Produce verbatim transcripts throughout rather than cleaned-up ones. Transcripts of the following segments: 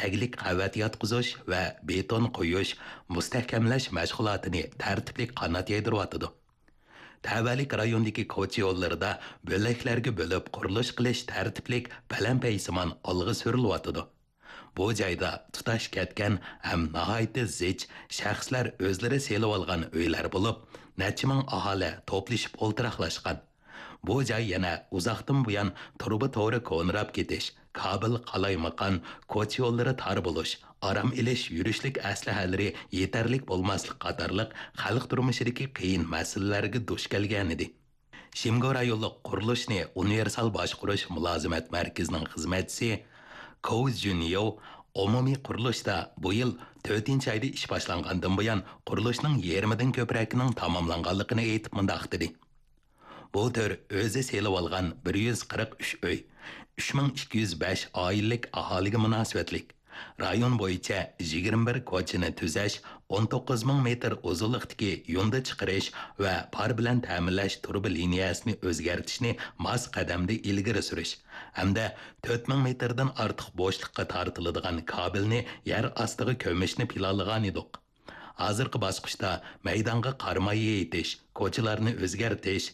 ئەگلىك قەۋەت ياتقۇزۇش ۋە بېتون قويۇش، مۇستەھكەملەش مەشغۇلاتىنى تەرتىپلىك قانات يايدۇرۇۋاتىدۇ. تەۋەلىك رايوندىكى كوچا يوللىرىدا بۆلەكلەرگە بۆلۈپ قۇرۇلۇش قىلىش تەرتىپلىك پەلەمپەيسىمان ئالغا سۈرۈلۈۋاتىدۇ. بۇ جايدا تۇتاش كەتكەن ھەم ناھايىتى زىچ شەخسلەر ئۆزلىرى سېلىۋالغان ئۆيلەر بولۇپ، نەچچە مىڭ ئاھالە توپلىشىپ ئولتۇراقلاشقان. بۇ جاي يەنە ئۇزاقتىن بۇيان تۇرۇبا تورى كونىراپ كېتىش، كابېل قالايمىقان، كوچا يوللىرى تار بولۇش، ئارام ئېلىش يۈرۈشلۈك ئەسلىھەلىرى يېتەرلىك بولماسلىق قاتارلىق خەلق تۇرمۇشىدىكى قىيىن مەسىلىلەرگە دۇچ كەلگەنىدى. شىمگو رايونلۇق قۇرۇلۇشنى ئۇنىۋېرسال باشقۇرۇش مۇلازىمەت مەركىزىنىڭ خىزمەتچىسى كوۋ جۈنيو ئومۇمىي قۇرۇلۇشتا بۇ يىل تۆتىنچى ئايدا ئىش باشلانغاندىن بۇيان قۇرۇلۇشنىڭ يېرىمىدىن كۆپرەكىنىڭ تاماملانغانلىقىنى ئېيتىپ مۇنداق دېدى: بۇ تۈر ئۆزى سېلىۋالغان بىر يۈز قىرىق ئۈچ ئۆي، ئۈچ مىڭ ئىككى يۈز بەش ئائىلىلىك ئاھالىگە مۇناسىۋەتلىك. رايون بويىچە يىگىرمە بىر كوچىنى تۈزەش، ئون توققۇز مىڭ مېتىر ئۇزۇنلۇقتىكى يۇندا چىقىرىش ۋە پار بىلەن تەمىنلەش تۇرۇبا لىنىيەسىنى ئۆزگەرتىشنى ماس قەدەمدە ئىلگىرى سۈرۈش ھەمدە تۆت مىڭ مېتىردىن ئارتۇق بوشلۇققا تارتىلىدىغان كابېلنى يەر ئاستىغا كۆمۈشنى پىلانلىغانىدۇق. ھازىرقى باسقۇچتا مەيدانغا قارىماي يېيىتىش، كوچىلارنى ئۆزگەرتىش،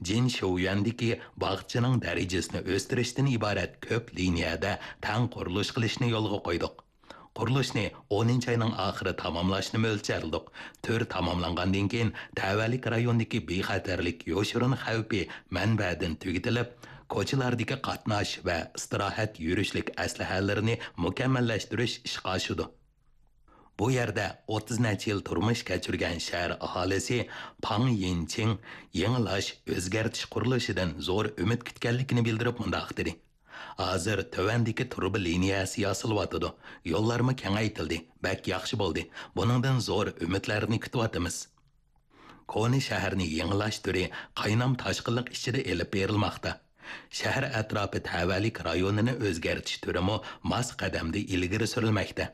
جىن شيۇيۈەندىكى باغچىنىڭ دەرىجىسىنى ئۆستۈرۈشتىن ئىبارەت كۆپ لىنىيەدە تەڭ قۇرۇلۇش قىلىشنى يولغا قويدۇق. قۇرۇلۇشنى ئونىنچى ئاينىڭ ئاخىرى تاماملاشنى مۆلچەرلىدۇق. تۈر تاماملانغاندىن كېيىن، تەۋەلىك رايونىدىكى بىخەتەرلىك يوشۇرۇن خەۋپى مەنبەدىن تۈگىتىلىپ، كوچىلاردىكى قاتناش ۋە ئىستىراھەت يۈرۈشلۈك ئەسلىھەلىرىنى مۇكەممەللەشتۈرۈش ئىشقا ئاشىدۇ. بۇ يەردە ئوتتۇز نەچچە يىل تۇرمۇش كەچۈرگەن شەھەر ئاھالىسى پاڭ يىنچىڭ يېڭىلاش، ئۆزگەرتىش قۇرۇلۇشىدىن زور ئۈمىد كۈتكەنلىكىنى بىلدۈرۈپ مۇنداق دېدى: ھازىر تۆۋەندىكى تۇرۇبا لىنىيەسى ياسىلىۋاتىدۇ، يوللارمۇ كېڭەيتىلدى، بەك ياخشى بولدى، بۇنىڭدىن زور ئۈمىدلەرنى كۈتۈۋاتىمىز. كونا شەھەرنى يېڭىلاش تۈرى قاينام تاشقىنلىق ئىچىدە ئېلىپ بېرىلماقتا. شەھەر ئەتراپى تەۋەلىك رايونىنى ئۆزگەرتىش تۈرىمۇ ماس قەدەمدە ئىلگىرى سۈرۈلمەكتە.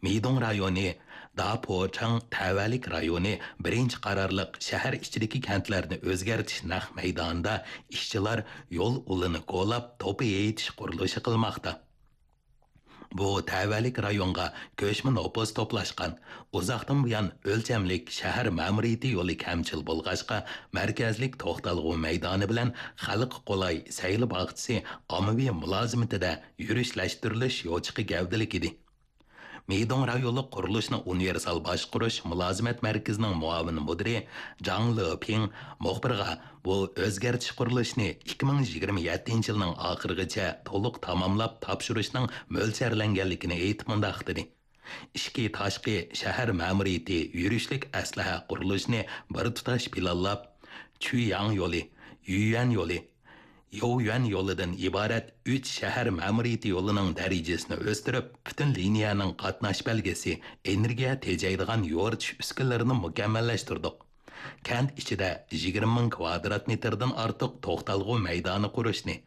مىدۇڭ رايونى، داپوچاڭ تەۋەلىك رايونى بىرىنچى قارارلىق شەھەر ئىچىدىكى كەنتلەرنى ئۆزگەرتىش نەق مەيدانىدا ئىشچىلار يول ئۇلىنى كولاپ، توپا يېيىتىش قۇرۇلۇشى قىلماقتا. بۇ تەۋەلىك رايونغا كۆچمە نوپۇس توپلاشقان، ئۇزاقتىن بۇيان ئۆلچەملىك شەھەر مەمۇرىيىتى يولى كەمچىل بولغاچقا، مەركەزلىك توختالغۇ مەيدانى بىلەن خەلققە قولاي سەيلە باغچىسى ئاممىۋى مۇلازىمىتىدە يۈرۈشلەشتۈرۈلۈش يوچۇقى گەۋدىلىك ئىدى. مىدۇڭ رايونلۇق قۇرۇلۇشنى ئۇنىۋېرسال باشقۇرۇش مۇلازىمەت مەركىزىنىڭ مۇئاۋىن مۇدىرى جاڭ لېپىڭ مۇخبىرغا بۇ ئۆزگەرتىش قۇرۇلۇشىنى ئىككى مىڭ يىگىرمە يەتتىنچى يىلنىڭ ئاخىرىغىچە تولۇق تاماملاپ تاپشۇرۇشنىڭ مۆلچەرلەنگەنلىكىنى ئېيتىپ مۇنداق دېدى: ئىچكى، تاشقى شەھەر مەمۇرىيىتى يۈرۈشلۈك ئەسلىھە قۇرۇلۇشىنى بىر تۇتاش پىلانلاپ، چۈيياڭ يولى، يۈيۈەن يولى، يوۋيۈەن يولىدىن ئىبارەت ئۈچ شەھەر مەمۇرىيىتى يولىنىڭ دەرىجىسىنى ئۆستۈرۈپ، پۈتۈن لىنىيەنىڭ قاتناش بەلگىسى، ئېنېرگىيە تېجەيدىغان يورۇتۇش ئۈسكۈنىلىرىنى مۇكەممەللەشتۈردۇق. كەنت ئىچىدە يىگىرمە مىڭ كىۋادرات مېتىردىن ئارتۇق توختالغۇ مەيدانى قۇرۇشنى،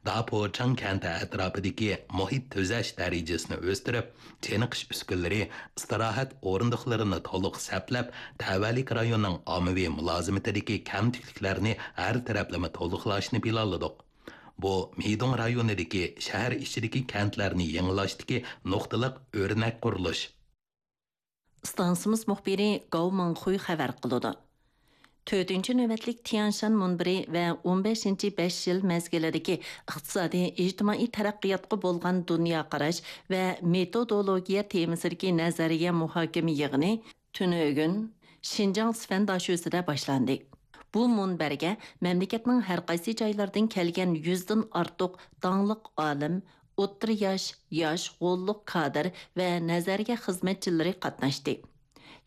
داپوچاڭ كەنتى ئەتراپىدىكى مۇھىت تۈزەش دەرىجىسىنى ئۆستۈرۈپ، چېنىقىش ئۈسكۈنىلىرى، ئىستىراھەت ئورۇندۇقلىرىنى تولۇق سەپلەپ، تەۋەلىك رايوننىڭ ئاممىۋى مۇلازىمىتىدىكى كەمتۈكلۈكلەرنى ھەر تەرەپلىمە تولۇقلاشنى پىلانلىدۇق. بۇ مىدۇڭ رايونىدىكى شەھەر ئىچىدىكى كەنتلەرنى يېڭىلاشتىكى نۇقتىلىق ئۆرنەك قۇرۇلۇش. ئىستانسىمىز مۇخبىرى گاۋ مىڭخۇي خەۋەر قىلىدۇ. تۆتىنچى نۆۋەتلىك تيەنشان مۇنبىرى ۋە ئون بەشىنچى بەش يىل مەزگىلىدىكى ئىقتىسادىي، ئىجتىمائىي تەرەققىياتقا بولغان دۇنيا قاراش ۋە مېتودولوگىيە تېمىسىدىكى نەزەرىيە مۇھاكىمە يىغىنى تۈنۈگۈن شىنجاڭ سىفەن داشۆسىدە باشلاندى. بۇ مۇنبەرگە مەملىكەتنىڭ ھەر قايسى جايلىرىدىن كەلگەن يۈزدىن ئارتۇق داڭلىق ئالىم، ئوتتۇرا ياش، ياش، غوللۇق كادىر ۋە نەزەرىيە خىزمەتچىلىرى قاتناشتى.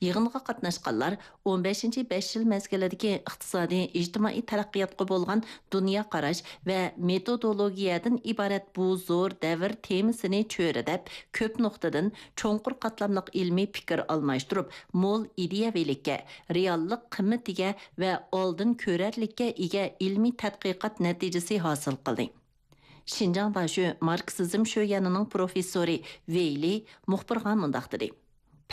يىغىنغا قاتناشقانلار ئون بەشىنچى بەش يىل مەزگىلىدىكى ئىقتىسادىي، ئىجتىمائىي تەرەققىياتقا بولغان دۇنيا قاراش ۋە مېتودولوگىيەدىن ئىبارەت بۇ زور دەۋر تېمىسىنى چۆرىدەپ، كۆپ نۇقتىدىن چوڭقۇر قاتلاملىق ئىلمىي پىكىر ئالماشتۇرۇپ، مول ئىدىيەۋىلىككە، رېئاللىق قىممىتىگە ۋە ئالدىن كۆرەرلىككە ئىگە ئىلمىي تەتقىقات نەتىجىسى ھاسىل قىلدى. شىنجاڭ داشۆ ماركسىزم شۆيەنىنىڭ پروفېسسورى ۋېي لى مۇخبىرغا مۇنداق دېدى: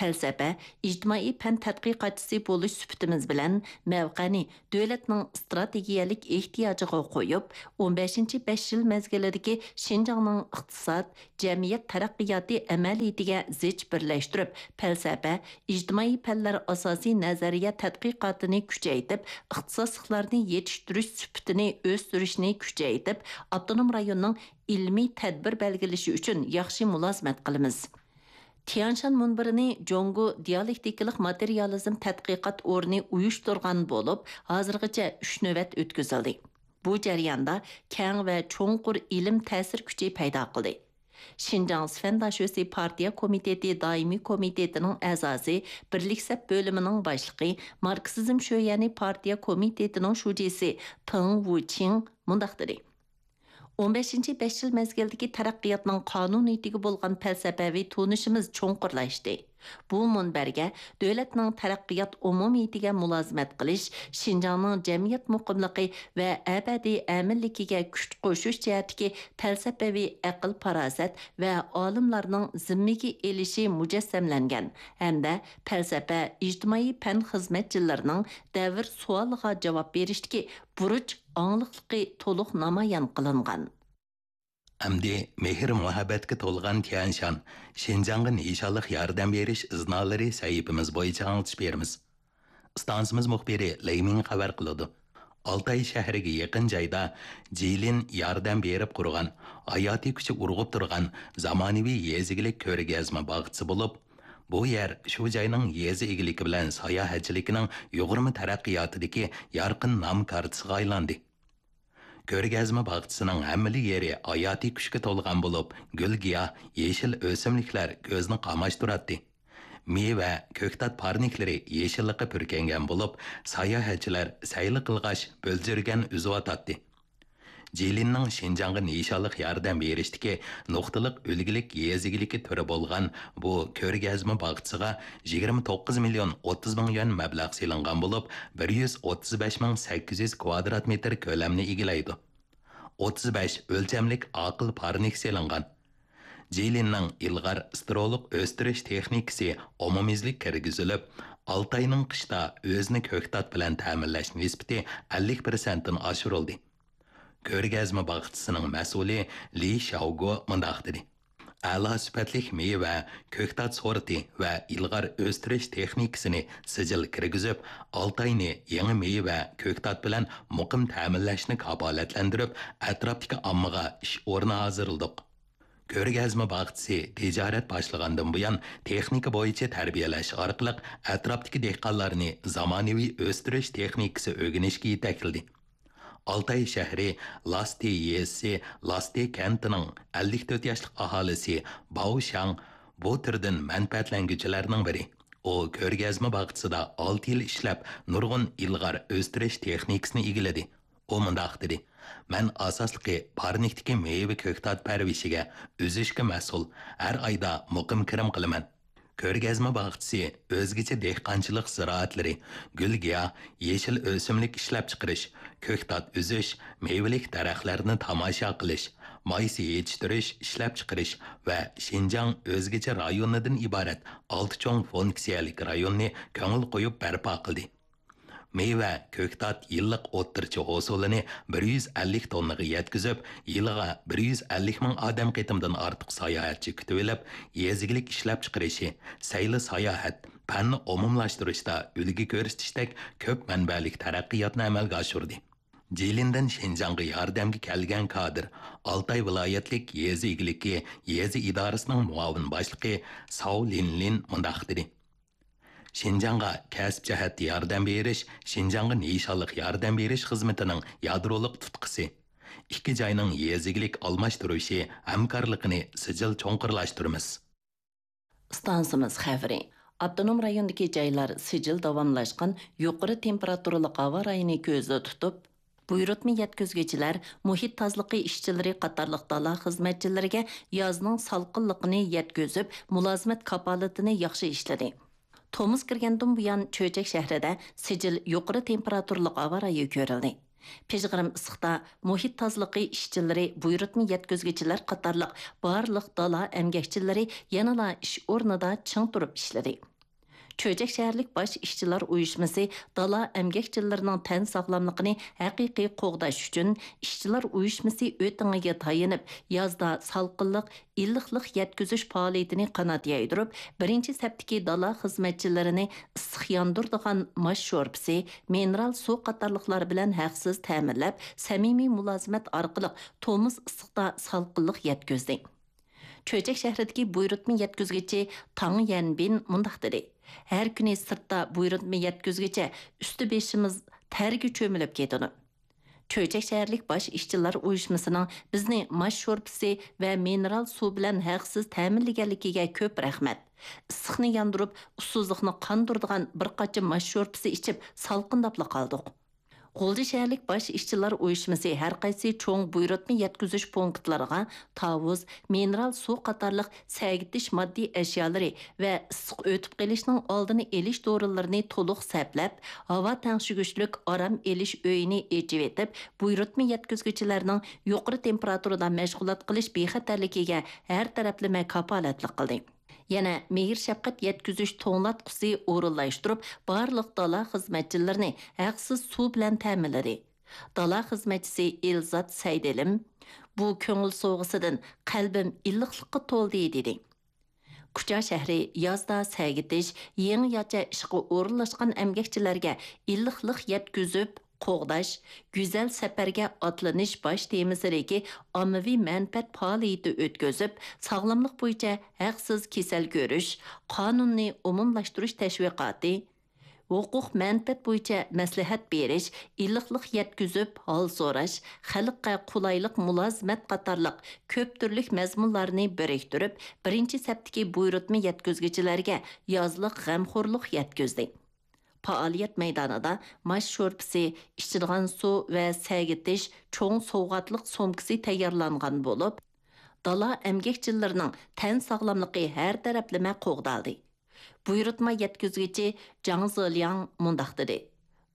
پەلسەپە، ئىجتىمائىي پەن تەتقىقاتچىسى بولۇش سۈپىتىمىز بىلەن مەۋقەنى دۆلەتنىڭ ئىستراتېگىيەلىك ئېھتىياجىغا قويۇپ، ئون بەشىنچى بەش يىل مەزگىلىدىكى شىنجاڭنىڭ ئىقتىساد، جەمئىيەت تەرەققىياتى ئەمەلىيىتىگە زىچ بىرلەشتۈرۈپ، پەلسەپە، ئىجتىمائىي پەنلەر ئاساسىي نەزەرىيە تەتقىقاتىنى كۈچەيتىپ، ئىختىساسلىقلارنى يېتىشتۈرۈش سۈپىتىنى ئۆستۈرۈشنى كۈچەيتىپ، ئاپتونوم رايوننىڭ ئىلمىي تەدبىر بەلگىلىشى ئۈچۈن ياخشى مۇلازىمەت قىلىمىز. تيەنشان مۇنبىرىنى جۇڭگو دىيالېكتىكىلىق ماتېرىيالىزم تەتقىقات ئورنى ئۇيۇشتۇرغان بولۇپ، ھازىرغىچە ئۈچ نۆۋەت ئۆتكۈزۈلدى. بۇ جەرياندا كەڭ ۋە چوڭقۇر ئىلىم تەسىر كۈچى پەيدا قىلدى. شىنجاڭ سفەن داشۆسى پارتىيە كومىتېتى دائىمىي كومىتېتىنىڭ ئەزاسى، بىرلىك سەپ بۆلۈمىنىڭ باشلىقى، ماركسىزم شۆيەنى پارتىيە كومىتېتىنىڭ شۇجىسى پېڭ ۋۇچىڭ مۇنداق دېدى: «ئون بەشىنچى بەش يىل مەزگىلدىكى تەرەققىياتنىڭ قانۇنىيىتىگە بولغان پەلسەپەۋى تونۇشىمىز چوڭقۇرلاشتى. بۇ مۇنبەرگە دۆلەتنىڭ تەرەققىيات ئومۇمىيىتىگە مۇلازىمەت قىلىش، شىنجاڭنىڭ جەمئىيەت مۇقىملىقى ۋە ئەبەدىي ئەمىنلىكىگە كۈچ قوشۇش جەھەتتىكى پەلسەپىۋى ئەقىل-پاراسەت ۋە ئالىملارنىڭ زىممىگە ئېلىشى مۇجەسسەملەنگەن ھەمدە پەلسەپە، ئىجتىمائىي پەن خىزمەتچىلىرىنىڭ دەۋر سوئالىغا جاۋاب بېرىشتىكى بۇرچ ئاڭلىقلىقى تولۇق نامايان قىلىنغان.» ئەمدى مېھىر-مۇھەببەتكە تولغان تيەنشان شىنجاڭغا نىشانلىق ياردەم بېرىش ئىزنالىرى سەھىپىمىز بويىچە ئاڭلىتىش بېرىمىز. ئىستانسىمىز مۇخبىرى لېي مىڭ خەۋەر قىلىدۇ. ئالتاي شەھىرىگە يېقىن جايدا جىلىن ياردەم بېرىپ قۇرغان ھاياتىي كۈچى ئۇرغۇپ تۇرغان زامانىۋى يېزا ئىگىلىك كۆرگەزمە باغچىسى بولۇپ، بۇ يەر شۇ جاينىڭ يېزا ئىگىلىكى بىلەن ساياھەتچىلىكىنىڭ يۇغۇرما تەرەققىياتىدىكى يارقىن نام كارتىسىغا ئايلاندى. كۆرگەزمە باغچىسىنىڭ ھەممىلا يېرى ھاياتىي كۈچكە تولغان بولۇپ، گۈل-گىياھ، يېشىل ئۆسۈملۈكلەر كۆزنى قاماشتۇراتتى. مېۋە، كۆكتات پارنىكلىرى يېشىللىققا پۈركەنگەن بولۇپ، ساياھەتچىلەر سەيلە قىلغاچ بۆلجۈرگەن ئۈزۈۋاتاتتى. جىلىننىڭ شىنجاڭغا نىشانلىق ياردەم بېرىشتىكى نۇقتىلىق ئۈلگىلىك يېزا ئىگىلىكى تۈرى بولغان بۇ كۆرگەزمە باغچىسىغا يىگىرمە توققۇز مىليون ئوتتۇز مىڭ يۈەن مەبلەغ سېلىنغان بولۇپ، بىر يۈز ئوتتۇز بەش مىڭ سەككىز يۈز كۋادرات مېتىر كۆلەمنى ئىگىلەيدۇ. ئوتتۇز بەش ئۆلچەملىك ئاقىل پارنىك سېلىنغان. جىلىننىڭ ئىلغار ستېرېئولۇق ئۆستۈرۈش تېخنىكىسى ئومۇميۈزلۈك كىرگۈزۈلۈپ، ئالتاينىڭ قىشتا ئۆزىنى كۆكتات بىلەن تەمىنلەش نىسبىتى ئەللىك پىرسەنتتىن ئاشۇرۇلدى. كۆرگەزمە باغچىسىنىڭ مەسئۇلى لى شياۋگو مۇنداق دېدى: «ئەلا سۈپەتلىك مېۋە، كۆكتات سورتى ۋە ئىلغار ئۆستۈرۈش تېخنىكىسىنى سىجىل كىرگۈزۈپ، ئالتاينى يېڭى مېۋە، كۆكتات بىلەن مۇقىم تەمىنلەشنى كاپالەتلەندۈرۈپ، ئەتراپتىكى ئاممىغا ئىش ئورنى ھازىرلىدۇق.» كۆرگەزمە باغچىسى تىجارەت باشلىغاندىن بۇيان، تېخنىكا بويىچە تەربىيەلەش ئارقىلىق ئەتراپتىكى دېھقانلارنى زامانىۋى ئۆستۈرۈش تېخنىكىسى ئۆگىنىشكە يېتەكلىدى. ئالتاي شەھىرى لاسدى يېزىسى لاسدى كەنتىنىڭ ئەللىك تۆت ياشلىق ئاھالىسى باۋ شاڭ بۇ تۈردىن مەنپەئەتلەنگۈچىلەرنىڭ بىرى. ئۇ كۆرگەزمە باغچىسىدا ئالتە يىل ئىشلەپ، نۇرغۇن ئىلغار ئۆستۈرۈش تېخنىكىسىنى ئىگىلىدى. ئۇ مۇنداق دېدى: «مەن ئاساسلىقى پارنىكتىكى مېۋە كۆكتات پەرۋىشىگە، ئۈزۈشكە مەسئۇل، ھەر ئايدا مۇقىم كىرىم قىلىمەن.» كۆرگەزمە باغچىسى ئۆزگىچە دېھقانچىلىق زىرائەتلىرى، گۈل-گىياھ، يېشىل ئۆسۈملۈك ئىشلەپچىقىرىش، كۆكتات ئۈزۈش، مېۋىلىك دەرەخلەرنى تاماشا قىلىش، مايسا يېتىشتۈرۈش، ئىشلەپچىقىرىش ۋە شىنجاڭ ئۆزگىچە رايونىدىن ئىبارەت ئالتە چوڭ فۇنكسىيەلىك رايوننى كۆڭۈل قويۇپ بەرپا قىلدى. مېۋە، كۆكتات يىللىق ئوتتۇرىچە ھوسۇلىنى بىر يۈز ئەللىك توننىغا يەتكۈزۈپ، يىلىغا بىر يۈز ئەللىك مىڭ ئادەم قېتىمدىن ئارتۇق ساياھەتچى كۈتۈۋېلىپ، يېزا ئىگىلىك ئىشلەپچىقىرىشى، سەيلە ساياھەت، پەننى ئومۇملاشتۇرۇشتا ئۈلگە كۆرسىتىشتەك كۆپ مەنبەلىك تەرەققىياتنى ئەمەلگە ئاشۇردى. جىلىندىن شىنجاڭغا ياردەمگە كەلگەن كادىر، ئالتاي ۋىلايەتلىك يېزا ئىگىلىكى يېزا ئىدارىسىنىڭ مۇئاۋىن باشلىقى ساۋ لىنلىن مۇنداق دېدى: «شىنجاڭغا كەسىپ جەھەتتە ياردەم بېرىش شىنجاڭغا نىشانلىق ياردەم بېرىش خىزمىتىنىڭ يادرولۇق تۇتقىسى. ئىككى جاينىڭ يېزا ئىگىلىك ئالماشتۇرۇشى ھەمكارلىقىنى سىجىل چوڭقۇرلاشتۇرىمىز.» ئىستانسىمىز خەۋىرى. ئاپتونوم رايوندىكى جايلار سىجىل داۋاملاشقان يۇقىرى تېمپېراتۇرىلىق ھاۋا رايىنى كۆزدە تۇتۇپ، بۇيرۇتما يەتكۈزگۈچىلەر، مۇھىت تازىلىقى ئىشچىلىرى قاتارلىق دالا خىزمەتچىلىرىگە يازنىڭ سالقىنلىقىنى يەتكۈزۈپ، مۇلازىمەت كاپالىتىنى ياخشى ئىشلىدى. تومۇز كىرگەندىن بۇيان، چۆچەك شەھىرىدە سىجىل يۇقىرى تېمپېراتۇرىلىق ھاۋا رايى كۆرۈلدى. پىژغىرىم ئىسسىقتا مۇھىت تازىلىقى ئىشچىلىرى، بۇيرۇتما يەتكۈزگۈچىلەر قاتارلىق بارلىق دالا ئەمگەكچىلىرى يەنىلا ئىش ئورنىدا چىڭ تۇرۇپ ئىشلىدى. چۆچەك شەھەرلىك باش ئىشچىلار ئۇيۇشمىسى دالا ئەمگەكچىلىرىنىڭ تەن ساغلاملىقىنى ھەقىقىي قوغداش ئۈچۈن، ئىشچىلار ئۇيۇشمىسى ئۆتىڭىگە تايىنىپ، يازدا سالقىنلىق، ئىللىقلىق يەتكۈزۈش پائالىيىتىنى قانات يايدۇرۇپ، بىرىنچى سەپتىكى دالا خىزمەتچىلىرىنى ئىسسىق ياندۇرىدىغان ماش شورپىسى، مىنېرال سۇ قاتارلىقلار بىلەن ھەقسىز تەمىنلەپ، سەمىمىي مۇلازىمەت ئارقىلىق تومۇز ئىسسىقتا سالقىنلىق يەتكۈزدى. چۆچەك شەھىرىدىكى بۇيرۇتما يەتكۈزگۈچى تاڭ يەنبىن مۇنداق دېدى: «ھەر كۈنى سىرتتا بۇيرۇتما يەتكۈزگۈچە ئۈستى بېشىمىز تەرگە چۆمۈلۈپ كېتىدۇ.» چۆچەك شەھەرلىك باش ئىشچىلار ئۇيۇشمىسىنىڭ بىزنى ماش شورپىسى ۋە مىنېرال سۇ بىلەن ھەقسىز تەمىنلىگەنلىكىگە كۆپ رەھمەت. ئىسسىقنى ياندۇرۇپ، ئۇسسۇزلۇقنى قاندۇرىدىغان بىر قاچا ماش شورپىسى ئىچىپ، سالقىنداپلا قالدۇق. غۇلجا شەھەرلىك باش ئىشچىلار ئۇيۇشمىسى ھەر قايسى چوڭ بۇيرۇتما يەتكۈزۈش پونكىتلىرىغا تاۋۇز، مىنېرال سۇ قاتارلىق سەگىتىش ماددىي ئەشيالىرى ۋە ئىسسىق ئۆتۈپ قېلىشنىڭ ئالدىنى ئېلىش دورىلىرىنى تولۇق سەپلەپ، ھاۋا تەڭشىگۈچلۈك ئارام ئېلىش ئۆيىنى ئېچىۋېتىپ، بۇيرۇتما يەتكۈزگۈچىلەرنىڭ يۇقىرى تېمپېراتۇرىدا مەشغۇلات قىلىش بىخەتەرلىكىگە ھەر تەرەپلىمە كاپالەتلىك قىلدى. يەنە مېھىر-شەپقەت يەتكۈزۈش توڭلاتقۇسى ئورۇنلاشتۇرۇپ، بارلىق دالا خىزمەتچىلىرىنى ھەقسىز سۇ بىلەن تەمىنلىدى. دالا خىزمەتچىسى ئېلزات سەيدىلىم، «بۇ كۆڭۈل سوۋغىسىدىن قەلبىم ئىللىقلىققا تولدى» دېدى. كۇچا شەھىرى يازدا سەگىتىش، يېڭىچە ئىشقا ئورۇنلاشقان ئەمگەكچىلەرگە ئىللىقلىق يەتكۈزۈپ، قوغداش، گۈزەل سەپەرگە ئاتلىنىش باش تېمىسىدىكى ئاممىۋى مەنپەئەت پائالىيىتى ئۆتكۈزۈپ، ساغلاملىق بويىچە ھەقسىز كېسەل كۆرۈش قانۇنىنى ئومۇملاشتۇرۇش تەشۋىقاتى، ھوقۇق مەنپەئەت بويىچە مەسلىھەت بېرىش، ئىللىقلىق يەتكۈزۈپ ھال سوراش، خەلققە قولايلىق مۇلازىمەت قاتارلىق كۆپ تۈرلۈك مەزمۇنلارنى بىرىكتۈرۈپ، بىرىنچى سەپتىكى بۇيرۇتما يەتكۈزگۈچىلەرگە يازلىق غەمخورلۇق يەتكۈزدى. پائالىيەت مەيدانىدا ماش شورپىسى، ئىچىدىغان سۇ ۋە سەگىتىش چوڭ سوۋغاتلىق سومكىسى تەييارلانغان بولۇپ، دالا ئەمگەكچىلىرىنىڭ تەن ساغلاملىقى ھەر تەرەپلىمە قوغدالدى. بۇيرۇتما يەتكۈزگۈچى جاڭ زېلياڭ مۇنداق دېدى: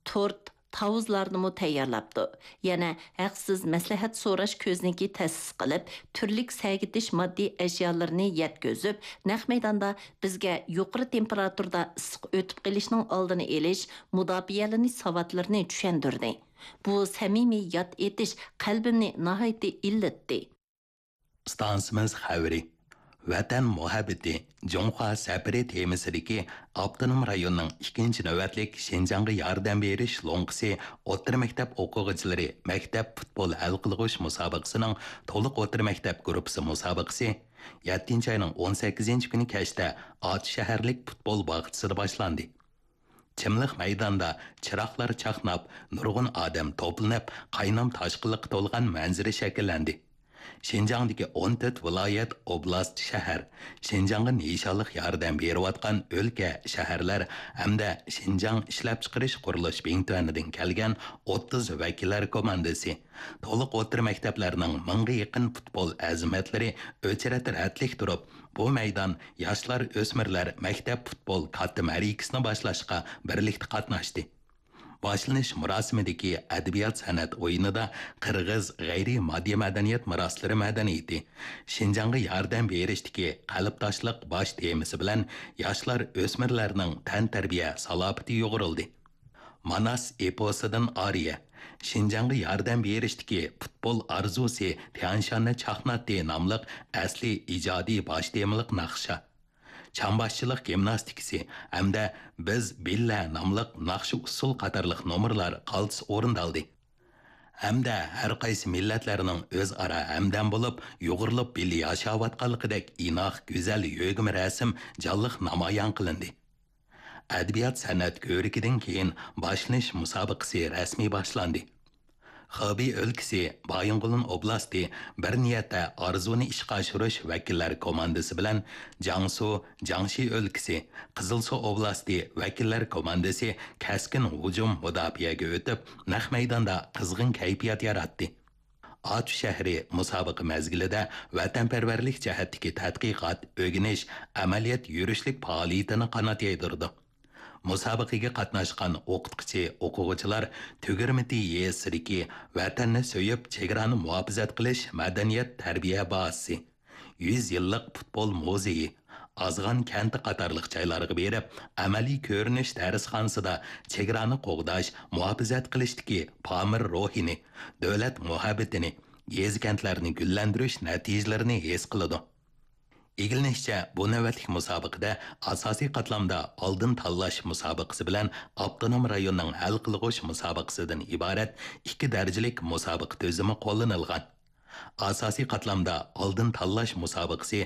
«تورت، تاۋۇزلارنىمۇ تەييارلاپتۇ. يەنە ھەقسىز مەسلىھەت سوراش كۆزنىكى تەسىس قىلىپ، تۈرلۈك سەگىتىش ماددىي ئەشيالىرىنى يەتكۈزۈپ، نەق مەيداندا بىزگە يۇقىرى تېمپېراتۇرىدا ئىسسىق ئۆتۈپ قېلىشنىڭ ئالدىنى ئېلىش، مۇداپىئەلىنىش ساۋاتلىرىنى چۈشەندۈردى. بۇ سەمىمىي ياد ئېتىش قەلبىمنى ناھايىتى ئىللىتتى.» ئىستانسىمىز خەۋىرى. ۋەتەن مۇھەببىتى، جۇڭخۇا سەپىرى تېمىسىدىكى ئاپتونوم رايوننىڭ ئىككىنچى نۆۋەتلىك شىنجاڭغا ياردەم بېرىش لوڭقىسى ئوتتۇرا مەكتەپ ئوقۇغۇچىلىرى مەكتەپ پۇتبول ھەل قىلغۇچ مۇسابىقىسىنىڭ تولۇق ئوتتۇرا مەكتەپ گۇرۇپپىسى مۇسابىقىسى يەتتىنچى ئاينىڭ ئون سەككىزىنچى كۈنى كەچتە ئاچا شەھەرلىك پۇتبول باغچىسىدا باشلاندى. چىملىق مەيداندا چىراغلار چاقناپ، نۇرغۇن ئادەم توپلىنىپ، قاينام تاشقىنلىققا تولغان مەنزىرە شەكىللەندى. شىنجاڭدىكى ئون تۆت ۋىلايەت، ئوبلاست، شەھەر، شىنجاڭغا نىشانلىق ياردەم بېرىۋاتقان ئۆلكە، شەھەرلەر ھەمدە شىنجاڭ ئىشلەپچىقىرىش قۇرۇلۇش بىڭتۈەنىدىن كەلگەن ئوتتۇز ۋەكىللەر كوماندىسى، تولۇق ئوتتۇرا مەكتەپلەرنىڭ مىڭغا يېقىن پۇتبول ئەزىمەتلىرى ئۆچرەت رەتلىك تۇرۇپ، بۇ مەيدان ياشلار، ئۆسمۈرلەر مەكتەپ پۇتبول كاتتا مەرىكىسىنى باشلاشقا بىرلىكتە قاتناشتى. باشلىنىش مۇراسىمىدىكى ئەدەبىيات-سەنئەت ئويۇنىدا قىرغىز غەيرىي ماددىي مەدەنىيەت مىراسلىرى مەدەنىيىتى، شىنجاڭغا ياردەم بېرىشتىكى قەلبداشلىق باش تېمىسى بىلەن ياشلار، ئۆسمۈرلەرنىڭ تەنتەربىيە سالاپىتى يۇغۇرۇلدى. ماناس ئېپوسىدىن ئارىيە، شىنجاڭغا ياردەم بېرىشتىكى پۇتبول ئارزۇسى تيەنشاننى چاقناتتى ناملىق ئەسلىي ئىجادىي باش تېمىلىق ناخشا، چامباشچىلىق گىمناستىكىسى ھەمدە بىز بىللە ناملىق ناخشا ئۇسسۇل قاتارلىق نومۇرلار قالتىس ئورۇندالدى. ھەمدە ھەر قايسى مىللەتلەرنىڭ ئۆزئارا ھەمدەم بولۇپ، يۇغۇرۇلۇپ بىللە ياشاۋاتقانلىقىدەك ئىناق، گۈزەل يۆگىمە رەسىم جانلىق نامايان قىلىندى. ئەدەبىيات-سەنئەت كۆرىكىدىن كېيىن باشلىنىش مۇسابىقىسى رەسمىي باشلاندى. خېبېي ئۆلكىسى، بايىنغولىن ئوبلاستى بىر نىيەتتە ئارزۇنى ئىشقا ئاشۇرۇش ۋەكىللەر كوماندىسى بىلەن جياڭسۇ، جياڭشى ئۆلكىسى، قىزىلسۇ ئوبلاستى ۋەكىللەر كوماندىسى كەسكىن ھۇجۇم مۇداپىئەگە ئۆتۈپ، نەق مەيداندا قىزغىن كەيپىيات ياراتتى. ئاچا شەھىرى مۇسابىقە مەزگىلىدە ۋەتەنپەرۋەرلىك جەھەتتىكى تەتقىقات، ئۆگىنىش، ئەمەلىيەت يۈرۈشلۈك پائالىيىتىنى قانات يايدۇرىدۇ. مۇسابىقىگە قاتناشقان ئوقۇتقۇچى، ئوقۇغۇچىلار تۈگۈرمىتى يېزىسىدىكى ۋەتەننى سۆيۈپ، چېگرانى مۇھاپىزەت قىلىش مەدەنىيەت تەربىيە بازىسى، يۈز يىللىق پۇتبول مۇزېيى، ئازغان كەنتى قاتارلىق جايلارغا بېرىپ، ئەمەلىي كۆرۈنۈش دەرسخانىسىدا چېگرانى قوغداش، مۇھاپىزەت قىلىشتىكى پامىر روھىنى، دۆلەت مۇھەببىتىنى، يېزا-كەنتلەرنى گۈللەندۈرۈش نەتىجىلىرىنى ھېس قىلىدۇ. ئىگىلىنىشىچە، بۇ نۆۋەتلىك مۇسابىقىدە ئاساسىي قاتلامدا ئالدىن تاللاش مۇسابىقىسى بىلەن ئاپتونوم رايوننىڭ ھەل قىلغۇچ مۇسابىقىسىدىن ئىبارەت ئىككى دەرىجىلىك مۇسابىقە تۈزۈمى قوللىنىلغان. ئاساسىي قاتلامدا ئالدىن تاللاش مۇسابىقىسى